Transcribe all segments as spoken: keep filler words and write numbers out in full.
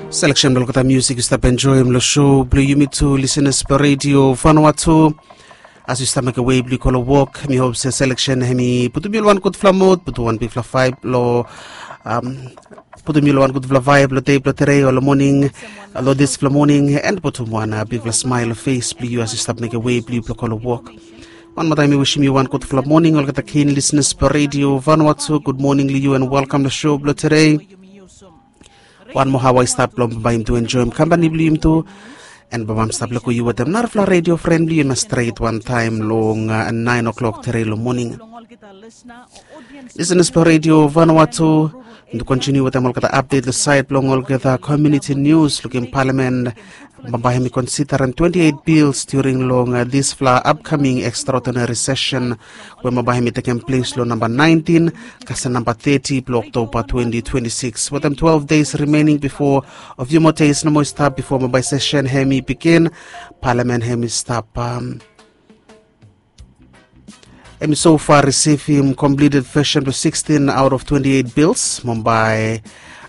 Selection blong olgeta musik yu stap enjoim long show blong yumi tu listeners blong Radio Vanuatu. As yu stap mekem wei blong yu go long wok, mi hop se selection hemi putum yu long wan gudfala mod, putum wan bigfala vibe long um, putum yu long wan gudfala vibe long dei blong tere o long moning, long dispela moning, and putum wan uh, bigfala smile long face blong yu as yu stap mekem wei blong yu blong go long wok. Wan moa taim mi wisim yu wan gudfala moning olgeta keen listeners blong Radio Vanuatu. Gud moning long yu and welkam long show blong tere. Wan moa hawa i stap long bambae yumi tu enjoim kampani blong yumi tu. And bambae mi stap leko yu wetem narafala radio fren blong yu na stret wantaim long uh, nain o'clock tere long moning. Listeners blong Radio Vanuatu, yumi tu kontiniu wetem olgeta update long sait blong olgeta community news. Lukim palamen bambae hemi konsidarim twenty-eight bills during long uh, dispela upcoming extraordinary session we bambae hemi tekem ples long namba nineteen kasem namba thirty blong Oktoba twenty twenty-six. Wetem twelve days remaining before, a few more days nomo i stap before bambae session hemi begin, palamen hemi stap um, hemi so far risivim completed version blong sixteen out of twenty-eight bills. Bambae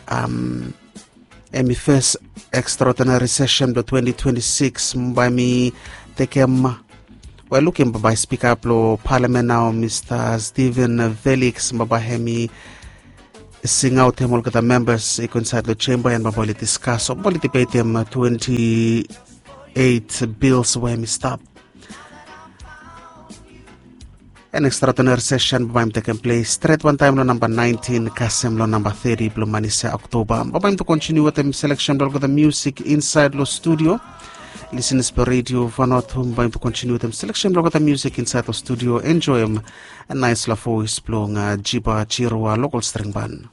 um, hemi first extraordinary session blong twenty twenty-six. Bambae mi tekem, we lukim bambae spika blong palamen nao Mr Stephen Felix, bambae hemi singaotem olgeta members i go insaed long chamber and bambae oli diskas o bambae oli debetem twenty-eight bills we hemi stap. An extraordinary session bambae mi tekem ples stret wantaim long namba nineteen kasem long namba thirty blong manisia Oktoba. Bambae mi tu kontiniu wetem selection blong olgeta musik insaed long studio. Listeners blong Radio Vanuatu, bambae mi tu kontiniu wetem selection blong olgeta musik insaed long studio. Enjoim naispela voes blong uh, Jiba Jirua, local string band.